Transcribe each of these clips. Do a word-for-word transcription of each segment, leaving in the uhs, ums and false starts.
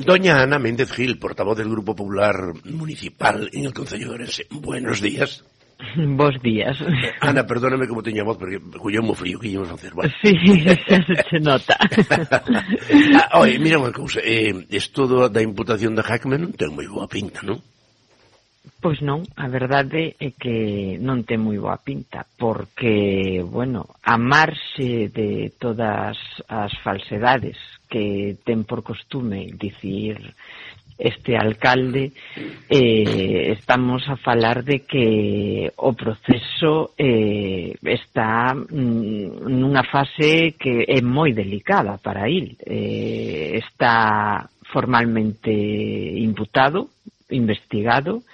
Doña Ana Méndez Gil, portavoz del Grupo Popular Municipal en el Concello de Ourense. Buenos días. Bos días. Ana, perdóname como teña voz, porque colleu mo frío, que íamos facer, vale? Sí, xa se nota. ah, Oye, mira unha cousa, eh, esto da imputación de Hackman non ten moi boa pinta, non? Pois non, a verdade é que non ten moi boa pinta, porque, bueno, a marxe de todas as falsedades que ten por costume dicir este alcalde, eh, estamos a falar de que o proceso eh, está mm, nunha fase que é moi delicada para il. Eh, está formalmente imputado, investigado,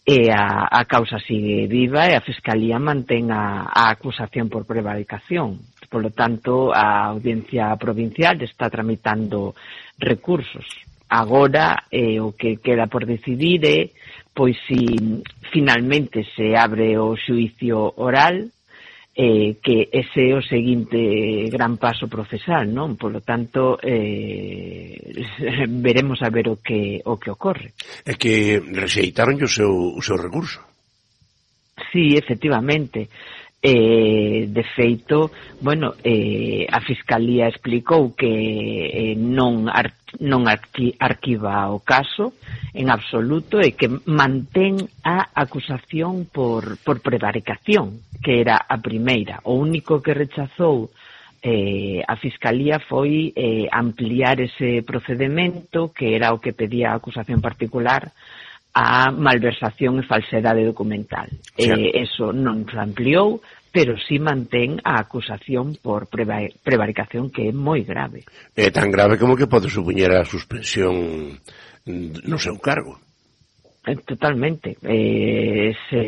e a, a causa sigue viva e a Fiscalía mantén a, a acusación por prevaricación. Por lo tanto, a Audiencia Provincial está tramitando recursos. Agora, eh, o que queda por decidir é, pois, si finalmente se abre o xuízo oral, eh, que ese é o seguinte gran paso procesal, non? Por lo tanto, eh, veremos a ver o que o que ocorre. É que rexeitaron o seu, o seu recurso. Sí, efectivamente. Eh, de feito, bueno, eh, a Fiscalía explicou que eh, non, ar, non arqui, arquiva o caso en absoluto e que mantén a acusación por, por prevaricación, que era a primeira. O único que rechazou eh, a Fiscalía foi eh, ampliar ese procedemento, que era o que pedía a acusación particular, a malversación e falsedade documental. Sí. Eh, eso non se ampliou, pero sí mantén a acusación por prevaricación, que é moi grave. É tan grave como que pode supoñer a suspensión no seu cargo. Totalmente. Eh, se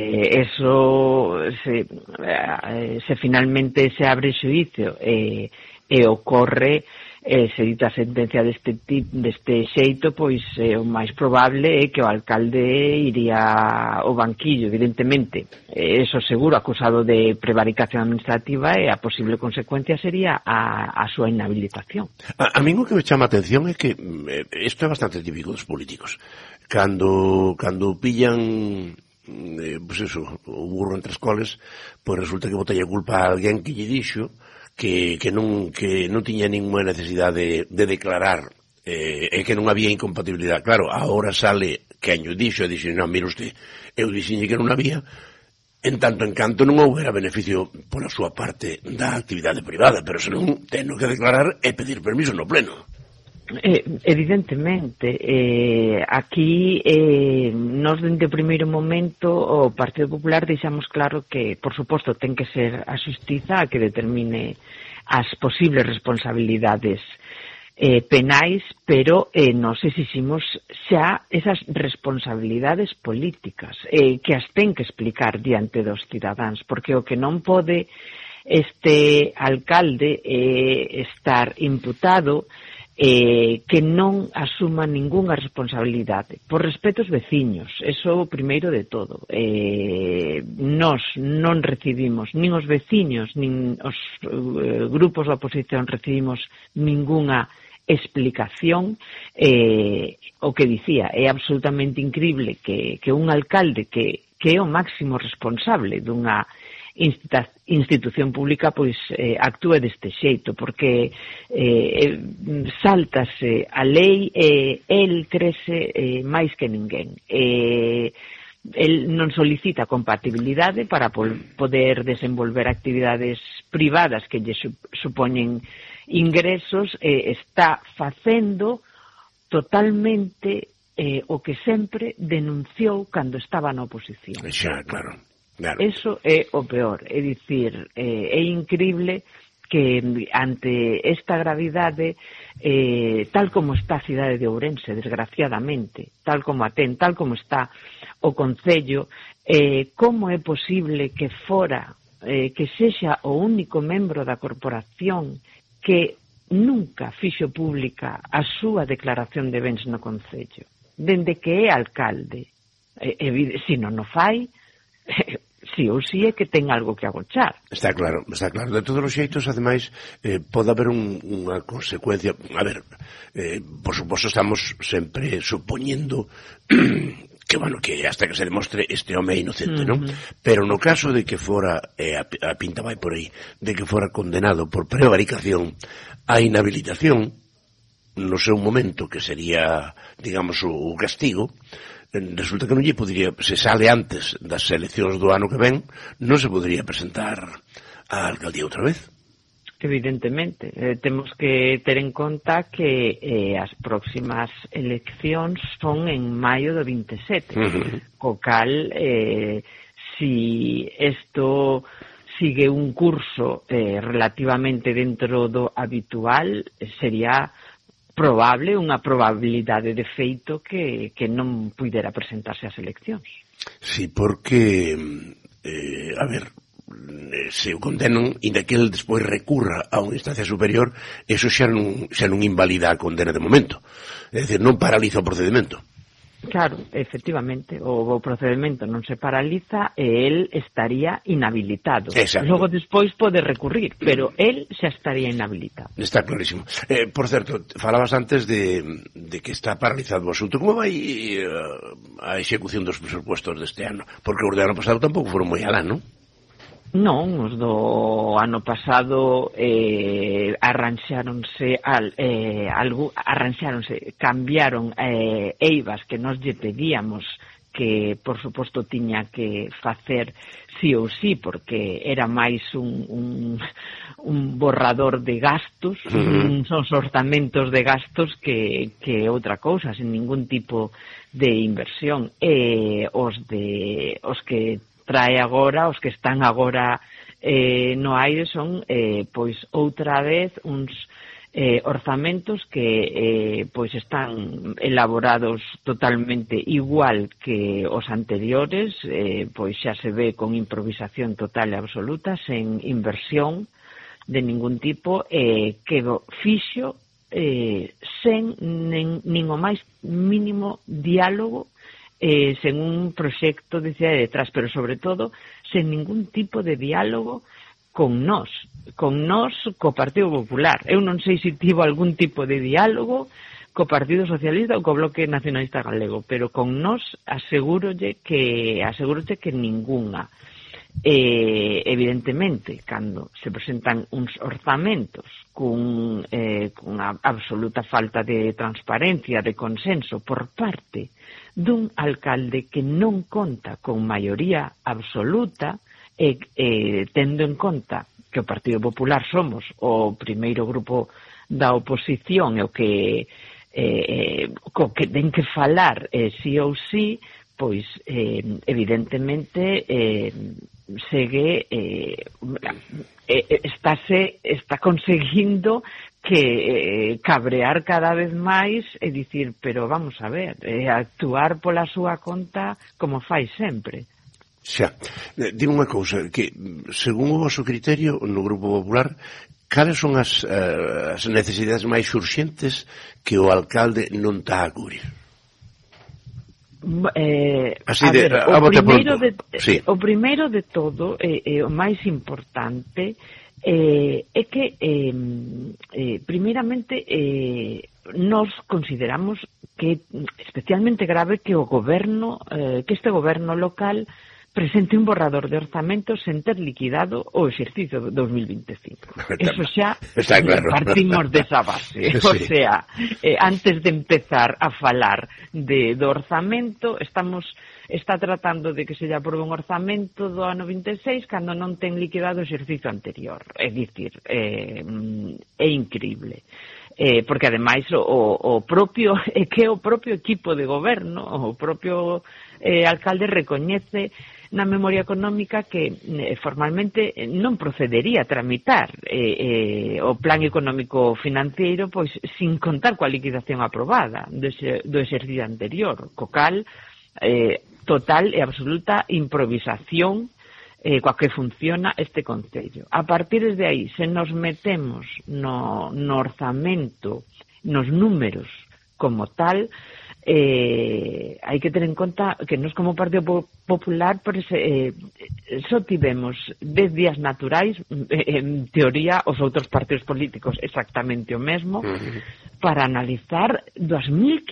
eso se, eh, se finalmente se abre xuízo e, e ocorre eh, se dita a sentencia deste, deste xeito, pois eh, o máis probable é que o alcalde iría ao banquillo, evidentemente. Eh, eso seguro, acusado de prevaricación administrativa, e a posible consecuencia sería a, a súa inhabilitación. A, a mí o que me chama a atención é que eh, isto é bastante típico dos políticos. Cando, cando pillan eh, pues eso, o burro entre as coles, pois resulta que botei a culpa a alguén que lle dixo que, que, non, que non tiña ninguna necesidade de, de declarar eh, e que non había incompatibilidade. Claro, agora sale que año dixo e dixo, non, mire usted, eu dixinlle que non había, en tanto en canto non houbera beneficio pola súa parte da actividade privada, pero senón teno que declarar e pedir permiso no pleno. Eh, evidentemente, eh, aquí eh, nos dende o primeiro momento o Partido Popular deixamos claro que, por suposto, ten que ser a xustiza a que determine as posibles responsabilidades eh, penais, pero eh, nos exiximos xa esas responsabilidades políticas eh, que as ten que explicar diante dos cidadáns, porque o que non pode este alcalde eh, estar imputado Eh, que non asuma ningunha responsabilidade por respeto aos veciños, eso o primeiro de todo. Eh, nós non recibimos, nin os veciños nin os eh, grupos da oposición recibimos ningunha explicación. Eh, o que dicía, é absolutamente incrible que, que un alcalde que, que é o máximo responsable dunha institución pública pois eh, actúe deste xeito, porque eh, sáltase a lei e eh, el crese eh, máis que ninguén. Eh, el non solicita compatibilidade para poder desenvolver actividades privadas que lle supoñen ingresos, eh, está facendo totalmente eh, o que sempre denunciou cando estaba na oposición. Xa, claro. Claro. Eso é o peor, é dicir, eh, é incrible que ante esta gravidade, eh, tal como está a cidade de Ourense, desgraciadamente, tal como a ten, tal como está o Concello, eh, como é posible que fora, eh, que sexa o único membro da corporación que nunca fixo pública a súa declaración de bens no Concello, dende que é alcalde. Eh, eh, se non o fai, si ou si é que ten algo que agochar. Está claro, está claro. De todos os xeitos, ademais, eh, pode haber un, unha consecuencia. A ver, eh, por suposto, estamos sempre supoñendo que, bueno, que hasta que se demostre este home é inocente, uh-huh. non? Pero no caso de que fora, eh, a, a pinta vai por aí, de que fora condenado por prevaricación a inhabilitación, no seu momento, que sería, digamos, o, o castigo, resulta que non lle podría, se sale antes das eleccións do ano que ven, non se podría presentar á alcaldía outra vez. Evidentemente, eh, temos que ter en conta que eh, as próximas eleccións son en maio do veintisiete, uh-huh. co cal, eh, si isto sigue un curso eh, relativamente dentro do habitual, sería probable, unha probabilidade de feito que, que non puidera presentarse ás eleccións. Sí, porque, eh, a ver, se o condenan, inda que el despois recurra a unha instancia superior, eso xa non, xa non invalida a condena de momento. É dicir, non paraliza o procedimento. Claro, efectivamente, o, o procedimento non se paraliza e el estaría inhabilitado. Exacto. Logo despois pode recurrir, pero el xa estaría inhabilitado. Está clarísimo. Eh, por certo, falabas antes de, de que está paralizado o asunto. Como vai uh, a execución dos presupuestos deste ano? Porque os de ano pasado tampouco foron moi alá, non? Non, os do ano pasado eh, arranxáronse al, eh, algo, arranxáronse, cambiaron eh, eivas que nos lle pedíamos que, por suposto, tiña que facer sí ou sí, porque era máis un, un, un borrador de gastos, uh-huh. son orzamentos de gastos que, que outra cousa, sen ningún tipo de inversión. E os, de, os que trae agora, os que están agora eh, no aire son eh, pois outra vez uns eh, orzamentos que eh, pois están elaborados totalmente igual que os anteriores, eh, pois xa se ve con improvisación total e absoluta, sen inversión de ningún tipo, eh, que fixo eh, sen nin, nin o máis mínimo diálogo, Eh, sen un proxecto de cidade detrás, pero sobre todo sen ningún tipo de diálogo con nós, con nós co Partido Popular. Eu non sei se tivo algún tipo de diálogo co Partido Socialista ou co Bloque Nacionalista Galego, pero con nós asegúrolle que asegúrolle que ningunha. Eh, evidentemente, cando se presentan uns orzamentos cun, eh, cunha absoluta falta de transparencia, de consenso por parte dun alcalde que non conta con maioría absoluta e eh, tendo en conta que o Partido Popular somos o primeiro grupo da oposición e o que eh, co que ten que falar eh, sí ou sí, pois eh, evidentemente eh, segue eh, eh, estáse, está conseguindo que eh, cabrear cada vez máis e dicir, pero vamos a ver, eh, actuar pola súa conta como fai sempre. Xa, dime unha cousa, que según o vosso criterio no Grupo Popular, cales son as, uh, as necesidades máis urxentes que o alcalde non está a cubrir? Eh, Así a de, ver, a o, primeiro de, sí. o primeiro de todo e eh, eh, o máis importante eh, é que eh, eh, primeiramente eh, nos consideramos que especialmente grave que o goberno eh, que este goberno local presente un borrador de orzamento sen ter liquidado o exercicio dos mil veinticinco. Eso xa claro. Partimos desa base. Sí. O sea, eh, antes de empezar a falar de, do orzamento, estamos está tratando de que se lle aprobe un orzamento do ano veintiséis cando non ten liquidado o exercicio anterior. É dicir, eh, é increíble. Eh, porque ademais o, o propio é que o propio equipo de goberno, o propio eh, alcalde recoñece na memoria económica que eh, formalmente non procedería a tramitar eh, eh, o plan económico financiero pois sin contar coa liquidación aprobada do, do exercicio anterior, co cal eh, total e absoluta improvisación eh, coa que funciona este concello. A partir de aí, se nos metemos no, no orzamento, nos números como tal, eh, hai que ter en conta que nos como Partido Popular por ese, eh, só tivemos dez días naturais, eh, en teoría os outros partidos políticos exactamente o mesmo, uh-huh. para analizar dos mil